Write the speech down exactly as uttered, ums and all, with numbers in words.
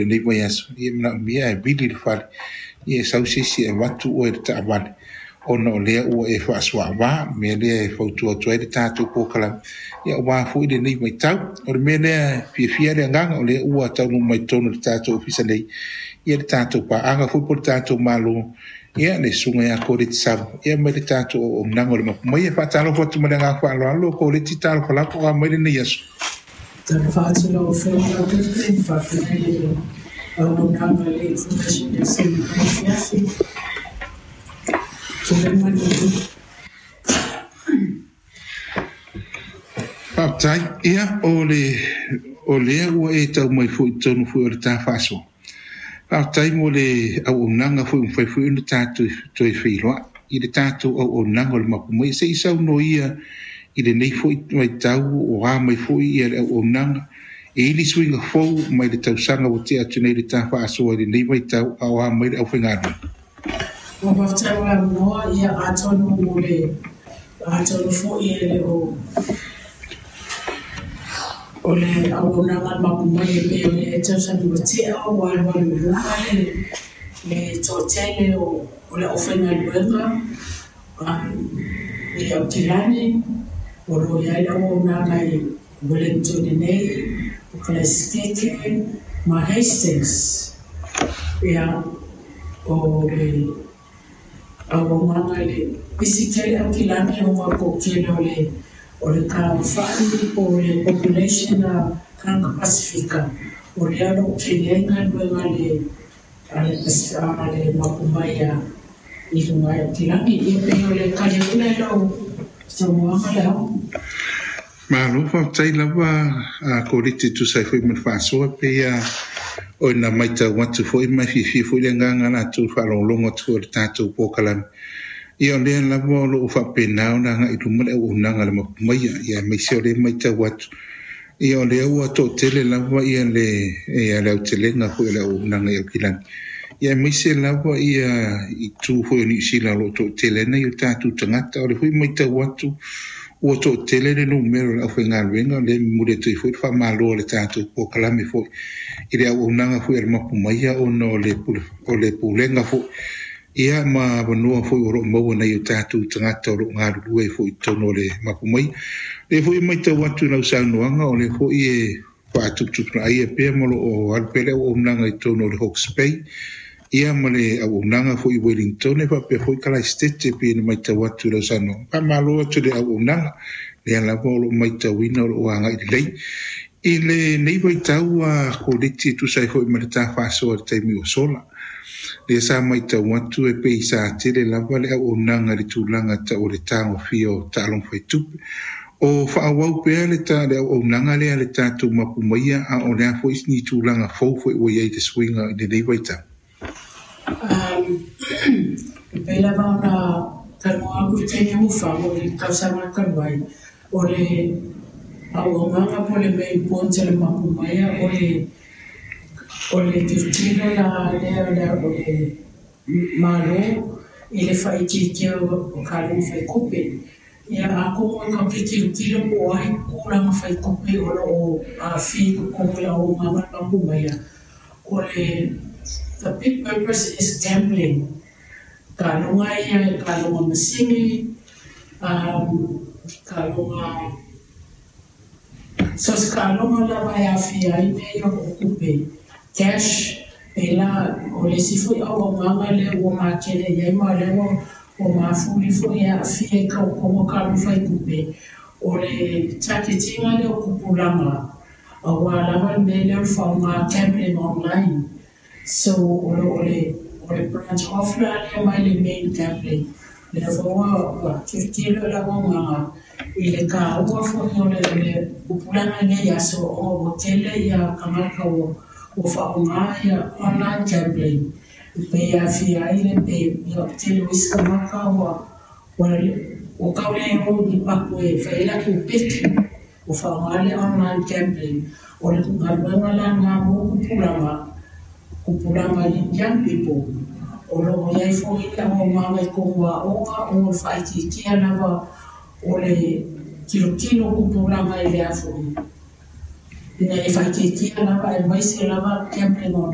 Lenei vaiaso ia manaomia e vili le fale ia e sau se isi e avatu oe le taavale ona o lea ua e faasuaava mea lea e fautua atu ai le tatou polokalame ia aua foi lenei vaitau. O le mea lea e fiafia le agaga o lea ua taunuu mai totonu o le tatou ofisa nei ia le tatou paaga foi po o le tatou Malo ia le susuga ia Koleti Samu ia mai le tatou auaunaga o le Mapu Mai. E faatalofa atu ma le agaga faaaloalo Koleti, talofa lava o mai lenei aso. Talofa atu lau Afioga Laupepe, faafetai i le auaunaga i le Information Desk i lenei afiafi. Tulai mai le Faafetai. Ia, o le o lea ua e tau mai foi i totonu foi o le ta faasoa. Faafetai mo le auaunaga foi ua mafai foi ona tatou toe feiloai i le tatou auaunaga o le Mapu Mai. Se i saunoa i lenei foi vaitau o a mai foi ia le auaunaga e ili suiga fou mai le tausaga ua tea atu nei le ta faasoa i lenei vaitau a o a mai le aufaigaluega. Ua faafetai mo le avanoa, ia atonu mo le atonu foi e le o o le auaunaga a le Mapu Mai e pei o le tausaga ua tea ua alualu i luga le le toatele o o le aufaigaluega um, i Aukilani o lo o i ai le auaunaga i Wellington nei, o Kalaesetete ma Hastings. Ia, o le auaunaga i le pisi tele Aukilani o ngā tele o le o le tagofai po o le population a tagata Pasifika o lea o lo o tele ai galuega a le a le a le Mapu Mai a i luga i Aukilani. Ia pei o le tali atu lea i lau saunoaga le ao. Malo faafetai lava a Koleti tusa ai foi ma le faasoa pei a o ina matau atu foi ma fiafia foi le agaga latou faalogologo atu foi o le tatou polokalame. Ia o lea lava o loo faapena ona agai i luma le auaunaga a le Mapu Mai ia aemaise o lea matau atu ia o lea ua toatele lava ia le ia le aotelega foi o le auaunaga i Aukilani. Ia aemaise lava ia itu foi o Niu Sila o loo toatele ai nai o tatou tagata. O le foi matau atu ua toatele le numera o le aufaigaluega o lea e momoli atu ai foi le faamalo a le tatou polokalame foi i le auaunaga foi a le Mapu Mai ona o le pule, o le pulega foi ia ma avanoa foi o loo maua nai o tatou tagata o loo galulue foi i totonu o le Mapu Mai. Lea foi e matau atu i lau saunoaga o lea foi e faatuputupulaia pea ma o loo alu pea le auaunaga i totonu o le Hawke's Bay ia ma le auaunaga foi i Wellington e faapea foi Kalaesetete pei ona matau atu i lau saunoaga. Faamalo atu i le auaunaga lea lava o loo matauina o loo agai lelei. I lenei vaitau a Koleti e tusa ai foi ma le ta faasoa i le taimi ua sola. Lea sa matau atu e pei sa tele lava le auaunaga i le tulaga tau o le tagofia o taaloga faitupe. O faaauau pea le ta le auaunaga lea le tatou Mapu Mai a o le a foi ni tulaga fou foi ua i ai le suiga i lenei vaitau. Um, e pei lava ona talanoa atu i le taimi ua fano i le tausaga talu ai, o le auaunaga po o le main point a le Mapu Mai o le o le tilotilo la lea o le o le Malo i le faaitiitia o taaloga faitupe. Ia atonu e tatou te tilotilo po o ai tulaga faitupe o loo aafia i totonu o le auaunaga a le Mapu Mai. O le the big purpose is gambling. Taaloga ia, taaloga masini, um, taaloga so se taaloga lava e aafia ai mea ia o tupe cash e la o le isi foi auaunaga lea ua matele i ai ma lea ua ua mafuli foi e aafia i tautoga taaloga faitupe o le target-ina lea o tupulaga aua lava le mea lea o le faaaoga gambling online. So o le o le o le branch off la lea mai le main gambling lea foi ua ua tilotilo le auaunaga i le taua foi o le o le tupulaga i lenei aso ona ua tele ia tagata ua ua faaaoga ia online gambling e pei e aafia ai le pei ia tele o isi tagata ua ua ua tau le o i ni patu e fai ai latou peki ua faaaoga le online gambling. O le galuega la lena mo tupulaga tupulaga young people o loo i ai foi le auaunaga i totonu o aoga o le faaitiitia lava o le tilotilo tupulaga i le a foi ina ia faaitiitia lava aemaise lava gambling online.